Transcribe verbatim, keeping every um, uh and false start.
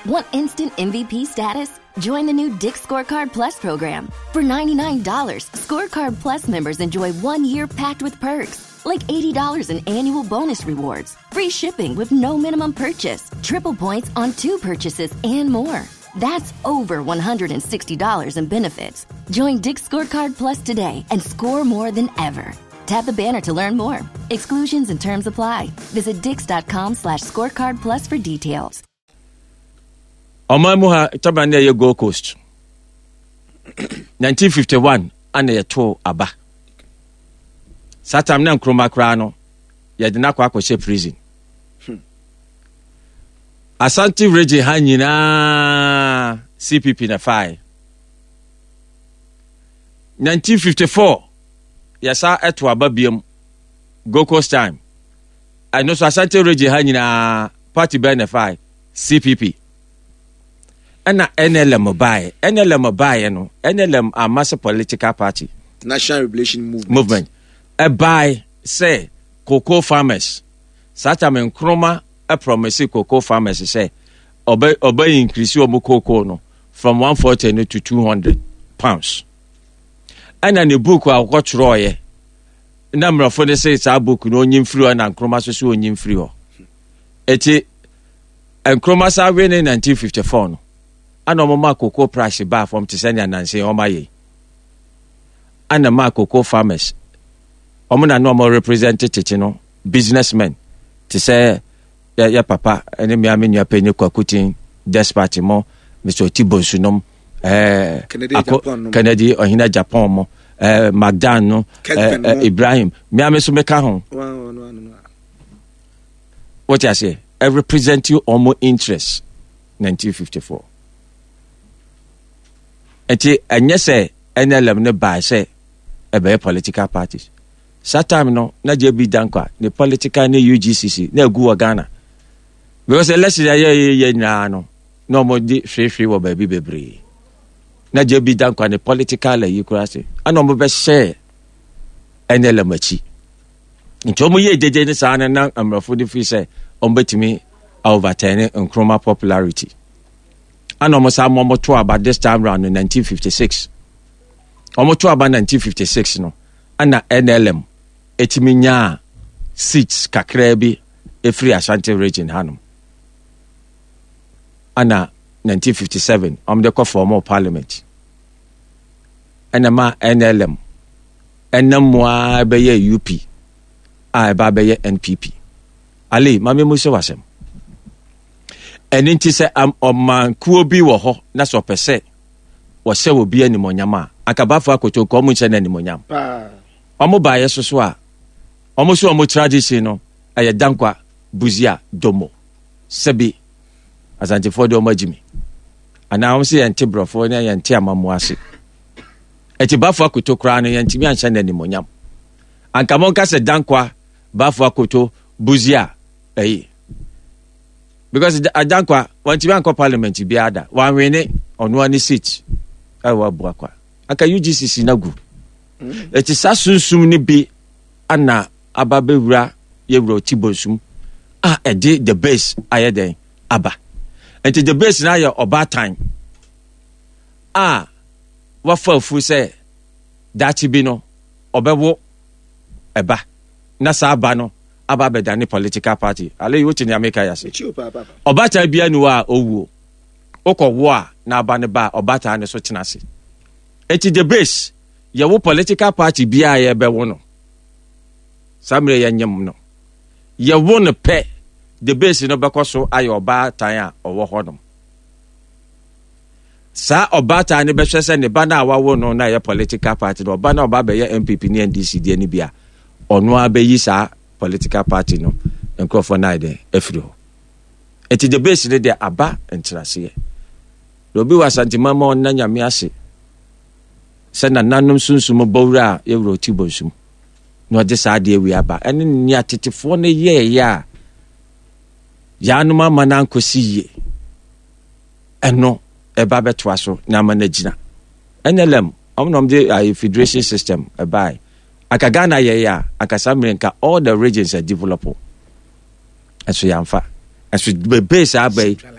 Want instant M V P status? Join the new Dick's Scorecard Plus program. For ninety-nine dollars, Scorecard Plus members enjoy one year packed with perks, like eighty dollars in annual bonus rewards, free shipping with no minimum purchase, triple points on two purchases, and more. That's over one hundred sixty dollars in benefits. Join Dick's Scorecard Plus today and score more than ever. Tap the banner to learn more. Exclusions and terms apply. Visit dicks dot com slash scorecard plus for details. Ɔman mu ha taba ne ɛyɛ Gold Coast nineteen fifty-one ana yɛtoo aba. Saa time na Nkrumah koraa no yɛde no akɔ akɔhyɛ prison. Asante Region ha nyinaa C P P na fae. nineteen fifty-four yɛsa ɛto aba biam, Gold Coast time. Ɛno so Asante Region ha nyinaa party bɛn na fae? C P P. Ɛna N L M baeɛ. N L M baeɛ no, N L M ama sɛ political party. National Liberation Movement. Movement ɛbae sɛ cocoa farmers. Saa time Nkrumah ɛpromise cocoa farmers sɛ ɔbɛ ɔbɛ increase wɔn cocoa no from one forty no to two hundred pounds. Ɛna ne book a ɔkɔtwerɛɔyɛ na mmorɔfo no sɛ saa book no ɔnyi mfiri hɔ, na Nkrumah so so ɔnyi mfiri hɔ. Eti Nkrumah saa we ne nineteen fifty-four no ana ɔmo ma cocoa price baa fam te sɛ nea nanse ɔmo ayɛ yi. Ana ma cocoa farmers ɔmo na na ɔmo represent tete no businessmen te sɛ yɛ yɛ papa ɛne mmea me nua panyin Kwakutin Despite mo, Mister Oti Bonsu nom, ɛɛ Kennedy Ako- Agyapong nom. Kennedy Ɔhene Agyapong mo, ɛɛ McDan no, Kessben ɛɛ ɛɛ mo. Ibrahim mmea me so meka ho. One, one, one, one. Wote aseɛ? Ɛrepresent ɔmo interest nineteen fifty-four. Nti ɛnyɛ sɛ N L M no baa sɛ ɛbɛyɛ political parties. Saa time no na J B Dankwa ne political ne U G C C na egu wɔ Ghana because election a yɛyɛ yɛ nyinaa no na ɔmo de hwehwɛ wɔ baabi bebree. Na J B Dankwa ne political ayi koraa se ɛna ɔmo bɛhyɛ N L M akyi. Nti ɔmo yɛ gyegye ne saa no na mmorɔfo de firi sɛ ɔmo bɛtumi overturn Nkrumah popularity, ana ɔmo saa mo ɔmo to aba. This time round no, nineteen fifty-six ɔmo to aba. nineteen fifty-six no ana N L M etimi nyaa seats kakraa bi efiri Ashanti Region hanom. Ana nineteen fifty-seven ɔmo de kɔ form parliament, ɛna ma N L M ɛnam mu ara bɛyɛ U P a ɛba bɛyɛ N P P. Ali maame mu sɛ wasɛm ɛno nti sɛ am- ɔmankuo bi wɔ hɔ na sɛ ɔpɛ sɛ wɔhyɛ obi animonyam a, anka Baffour Akoto nka ɔmo nhyɛ no animonyam. Paa. Ɔmo baayɛ so so a ɔmo so ɔmo tradition no ɛyɛ Dankwa, Busia, Domo. Sɛbi Asantefoɔ de ɔmo agyi mi anaa ɔmo sɛ yɛnte borɔfoɔ ne yɛnte amammo ase. Ɛti Baffour Akoto koraa no yɛntumi anhyɛ no animonyam. Anka monka sɛ Dankwa, Baffour Akoto, Busia ɛyi, because Da- Dankwa wɔntumi ankɔ parliament biara da, wanwene ɔno ani seat ɛwɔ Abuakwa. Anka U G C C na gu. Ɛti saa sunsum no bi ana aba bɛwura yɛwura Oti Bonsum a ɛde the base ayɛ dɛn aba. Nti the base no ayɛ ɔbaatan a wafa afu sɛ daakye bi no ɔbɛwo ɛba na saa aba no aba abɛdane political party. Ale wote nea meka yɛ ase? Mekyi o paa papa. Ɔbaatan bia ni hɔ a ɔwuo wokɔwo a na aba no ba a ɔbaatan no so tena ase. Enti the base yɛwo political party biaa yɛbɛwo no saa mmerɛ yɛnyem no, yɛwo no pɛ, the base no bɛkɔ so ayɛ ɔbaatan a ɔwɔ hɔnom. Saa ɔbaatan no bɛhwɛ sɛ ne ba no a wawo no na ɛyɛ political party no, ɔba no a ɔba bɛyɛ N P P ne N D C deɛ no bi a ɔno ara bɛyi saa political party no nkurɔfoɔ no ayɛ dɛn afiri hɔ. Nti the base no deɛ aba nkyerɛaseɛ na obi wɔ Asantema ma ɔnna Nyame ase sɛ nananom sunsum bɔwura a yɛwura Oti Bonsum na ɔde saa adeɛ wei aba ɛne nea tetefoɔ no yɛɛyɛ a yɛanom ama no ankɔsi yie. Ɛno ɛba bɛtoa so na ama no agyina. N L M ɔmo na ɔmo de ayɛ federation system ɛbae. Anka Ghana yɛyɛ a anka saa mmerɛ nka all the regions are develop, ɛso yɛamfa ɛso bebee saa aba yi.